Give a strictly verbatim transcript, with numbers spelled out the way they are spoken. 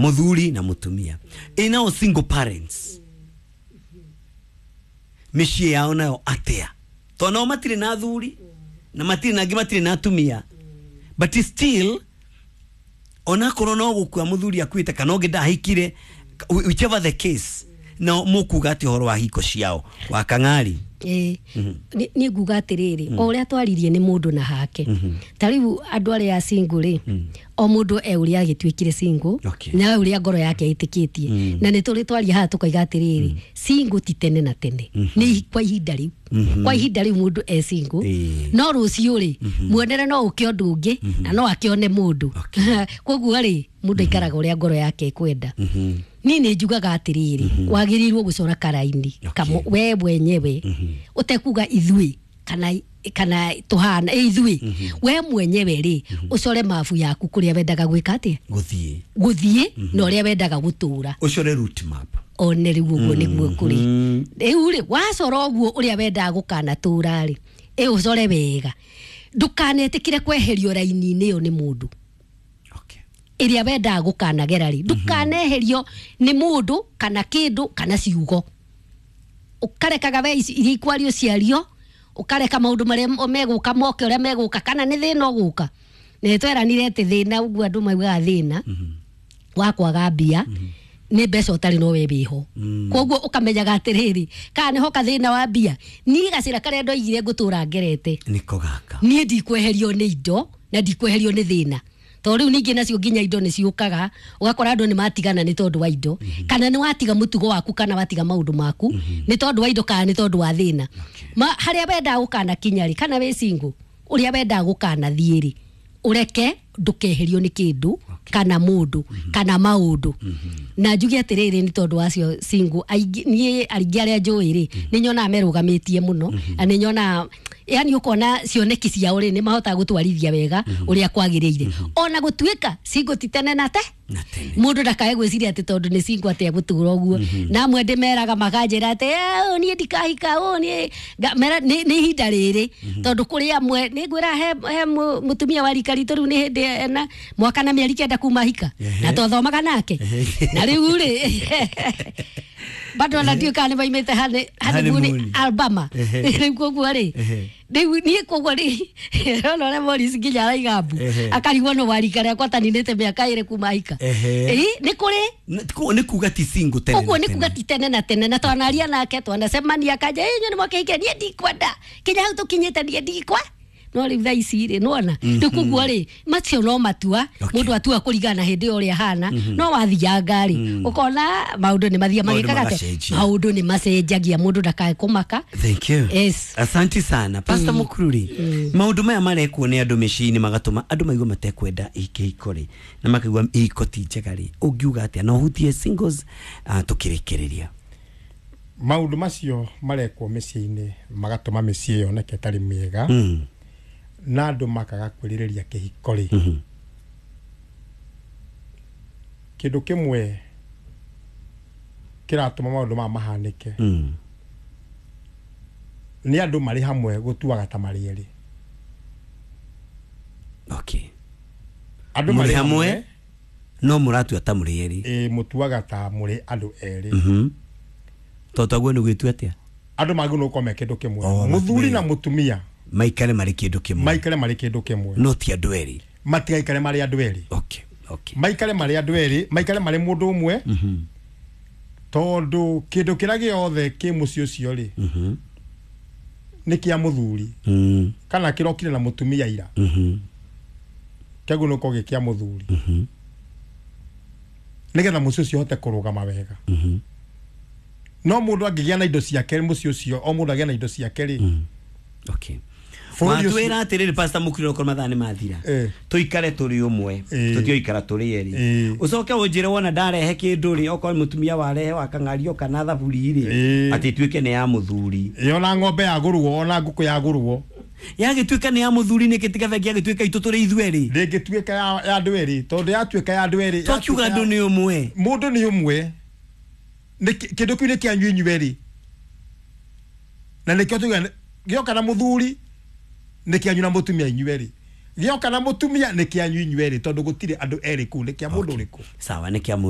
Muthuri na mutumia. Ĩ nao single parents mĩciĩ yao nayo atĩa? Tondũ nao matirĩ na athuri na matirĩ na angĩ, matirĩ na atumia, but still onakorwo no gũkua mũthuri akuĩte kana ũngĩ ndahikire, whichever the case, no mũkuga atĩ ũhoro wa hiko ciao wa kang'ari? Ĩĩ, niĩ nguga atĩrĩrĩ, o ũrĩa twaririe nĩ mũndũ na hake. Ta rĩu andũ arĩa single rĩ, o mũndũ e ũrĩa agĩtuĩkire single Okay. na ũrĩa ngoro yake ĩtĩkĩtie. Na nĩ tũrĩ twaria haha tũkaiga atĩrĩrĩ, single ti tene na tene, nĩ kwa ihinda rĩu, kwa ihinda rĩu mũndũ e single. Ĩĩ. No rũciũ rĩ, muonere no ũke ũndũ ũngĩ na no akĩone mũndũ. Koguo rĩ, mũndũ aikaraga ũrĩa ngoro yake ĩkwenda. Niĩ nĩ njugaga atĩrĩrĩ, wagĩrĩirwo gũcora karaini kamo we mwenyewe, ũtekuga ithuĩ kana kana tũhana ĩ ithuĩ, we mwenyewe rĩ, ũcore mabu yaku kũrĩa wendaga gwĩka atĩa, gũthiĩ, gũthiĩ na ũrĩa wendaga gũtũra. Ũcore route map. One rĩu ũguo nĩguo kũrĩ. Rĩu rĩ, wacora ũguo ũrĩa wendaga gũkanatũra rĩ, ĩ ũcore wega, ndũkanetĩkĩre kweherio raini-inĩ ĩyo nĩ mũndũ. Okay. Ĩrĩa wendaga gũkanagera rĩ, ndũkaneherio nĩ mũndũ kana kĩndũ kana ciugo. Ũkarekaga we ici iria ikwario ciario, ũkareka maũndũ marĩa megũka moke ũrĩa megũka, kana nĩ thĩna ũgũka. Nĩ tweranire atĩ thĩna, ũguo andũ maugaga thĩna wa kwaga mbia nĩ mbeca ũtarĩ no we wĩho. Koguo ũkamenyaga atĩrĩrĩ, kana nĩ hoka thĩna wa mbia, niĩ gacĩra karĩa ndoigire ngũtũra ngerete nĩko gaka, niĩ ndikweherio nĩ indo na ndikweherio nĩ thĩna. Tondũ rĩu ningĩ nacio nginya indo nĩ ciũkaga, ũgakora andũ nĩ matigana nĩ tondũ wa indo, kana nĩ watiga mũtugo waku kana watiga maũndũ maku nĩ tondũ wa indo kana nĩ tondũ wa thĩna. Ma harĩa wendaga gũkanakinya rĩ, kana wĩ single, ũrĩa wendaga gũkanathiĩ rĩ, ũreke ndũkeherio nĩ kĩndũ kana mũndũ kana maũndũ. Na njuge atĩrĩrĩ, nĩ tondũ wacio single aingĩ, niĩ aingĩ arĩa njũĩ rĩ, nĩ nyonaga merũgamĩtie mũno, na nĩ nyonaga yani ũkona cioneki ciao rĩ, nĩ mahotaga gũtwarithia wega ũrĩa kwagĩrĩire, ona gũtuĩka single ti tene na te na tene. Mũndũ ndakae gwĩciria atĩ tondũ nĩ single atĩ egũtũra ũguo. Na amwe ndĩmeraga makanjĩra atĩ, "Eh, niĩ ndikahika ũ niĩ." Nga- mera nĩ nĩ ihinda rĩrĩ, tondũ kũrĩ amwe nĩ ngwĩra he he mũ- mũtumia wa rika ritũ rĩu nĩ hĩndĩ ena mwaka na mĩeri kenda kuma hika, na twathomaga nake, na rĩu rĩ, bado ona ndiũĩ kana nĩ maimĩte honey- honeymoon. Honeymoon. Alabama. Ehe. Rĩu koguo rĩ, Ehe. rĩu niĩ koguo rĩ, ona ũrĩa Morris nginya araiga mbu, Ehe. akarigwo nĩ wa rika rĩakwa taninĩte mĩaka ĩrĩ kuma hika. Ehe. Ĩ, nĩ kũrĩ. Nĩ ku- nĩ kuga ti single tene Ũguo na nĩ tene. kuga ti tene na tene. Na twanaria nake, twanacemania, akanja ĩ nĩ mwakĩhike, niĩ ndikwenda kinya hau tũkinyĩte, niĩ ndikwa no rĩu thaa ici rĩ, nĩwona rĩu koguo rĩ, macio no matua Okay. mũndũ atua kũringana na hĩndĩ ĩyo ũrĩa ahana. No wathianga rĩ, ũkona maũndũ nĩ mathia Maũndũ magĩkaga atĩa? magacenjia. Maũndũ nĩ macenjagia, mũndũ ndakae kũmaka. Thank you. Yes. Asante sana, Pastor Mukururi. Maũndũ maya marekwo nĩ andũ mĩciĩ-inĩ magatũma andũ maigue matekwenda kĩhiko rĩ, na makaigua ihiko ti njega rĩ, ũngiuga atĩa na ũhutie singles uh, tũkĩrĩkĩrĩria? Maũndũ macio marekwo mĩciĩ-inĩ magatũma mĩciĩ yoneke ĩtarĩ mĩega mm. na andũ makaga kwĩrirĩria kĩhiko rĩ, kĩndũ kĩmwe kĩratũma maũndũ maya mahanĩke Mm. nĩ andũ marĩ hamwe gũtuaga ta marĩ erĩ. Okay. Andũ Mũrĩ marĩ hamwe no mũratua ta mũrĩ erĩ. Ĩ, mũtuaga ta mũrĩ andũ erĩ. Mhm. Tondũ taguo nĩ gwĩtua atĩa? Andũ magĩrĩirwo gũkorwo me kĩndũ kĩmwe, Oh, mũthuri na me- mũtumia maikare marĩ kĩndũ kĩmwe, maikare marĩ kĩndũ kĩmwe, no ti andũ erĩ. Matigaikare marĩ andũ erĩ. Okay. Okay. Maikare marĩ andũ erĩ, maikare marĩ mũndũ ũmwe, tondũ kĩndũ kĩrĩa gĩothe kĩ mũciĩ ũcio rĩ, Mhm. nĩ kĩa mũthuri Mm. kana kĩrokire na mũtumia ira, Mhm. kĩagĩrĩirwo gũkorwo gĩ kĩa mũthuri Mhm. nĩgetha mũciĩ ũcio ũhote kũrũgama wega. Mhm. No mũndũ angĩgĩa na indo ciake mũciĩ ũcio, o mũndũ agĩe na indo ciake rĩ, Okay. bũrũri ũcio- Watwĩra atĩrĩrĩ, Pastor Mũkuri, okorwo mathaa nĩ mathira, Eh. tũikare tũrĩ ũmwe, Eh. tũtioikara tũrĩ erĩ. Eh. Ũcoke ũnjĩre wona ndarehe kĩndũ rĩ, okorwo mũtumia warehe wakang'ario kana thaburi rĩ, Eh. atĩ ituĩke nĩ ya mũthuri. Ĩ, ona ng'ombe yagũrwo, ona ngũkũ yagũrwo, Yagĩtuĩka nĩ ya mũthuri nĩkĩ tiga bengi yagĩtuĩka itũ tũrĩ ithuerĩ? Ndĩngĩtuĩka ya ya andũ erĩ, tondũ yatuĩka ya andũ erĩ, Twakiuga yatuĩka andũ ya- nĩ ũmwe. Mũndũ nĩ ũmwe. Nĩ kĩ- kĩndũ kĩu nĩ kĩanyu inyuerĩ, na nĩkĩo tuga gĩoka na mũthuri nĩ kĩanyu na mũtumia inyuerĩ, Gĩoka na mũtumia nĩ kĩanyu inyuĩ erĩ, tondũ gũtirĩ andũ erĩ kũu, nĩ kĩa mũndũ ũrĩkũ? Sawa, nĩ kĩa mũndũ.